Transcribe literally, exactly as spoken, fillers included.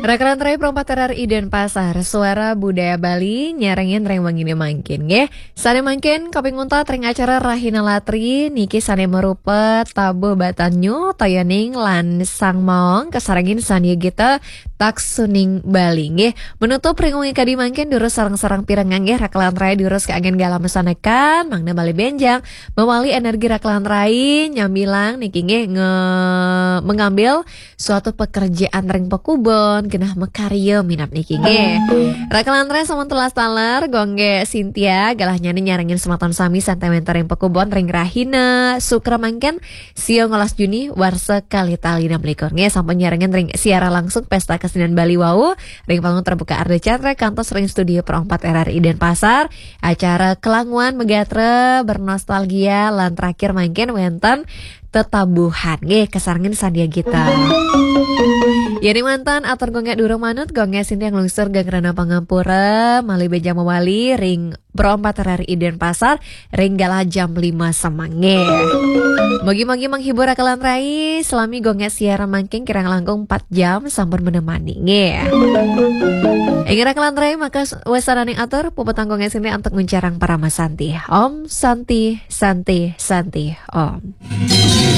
Rakalan rai Pro empat R R I Denpasar, Suara Budaya Bali, nyarengin ring wengine mangkin, nggih. Sane mangkin, kaping untat ring acara Rahina Latri, niki sane marupa tabuh batan nyuh, toyaning lan sang maong, kasarengin Sandya Gita, Taksuning Bali, nggih. Menutup ring wengi kadi mangkin, durus sareng-sareng pirengang, nggih, rakalan rai durus kaanggen galah masanekan, mangda malih benjang, mawali energi rakalan rai, nyambilang niki, nggih, nge-, mengambil suatu pekerjaan ring pakubon, genah makarya minab niki nggih. Rakalan rai sampun telas taler, Gung Gek Sintia, galahnyane nyarengin semeton sami sane wenten ring pakubon ring rahina Sukra mangkin, sia ngolas Juni, warsa kalih tali enam likur. Nggih, sampun nyarengin ring siaran langsung Pesta Kesenian Bali wau, ring panggung terbuka Ardha Candra, kantos ring studio Pro empat R R I Denpasar, acara Kelanguan Megatra Bernostalgia, lan terakhir mangkin wenten tetabuhan. Nggih, kasarengin Sandya Gita. Yen manten atur Gung Gek durung manut, Gung Gek Sintia nglungsur geng rena pangampura, malih benjang mawali ring Pro empat R R I Denpasar, ring galah jam lima semeng. Nggih. Mugi-mugi menghibur rakalan rai, selami Gung Gek siaran mangkin kirang langkung empat jam sampun menemani. Nggih. Inggih rakalan rai, maka s-, wasananing atur, puputang Gung Gek Sintia antuk nguncarang parama santi. Om Santi, Santi, Santi, Om.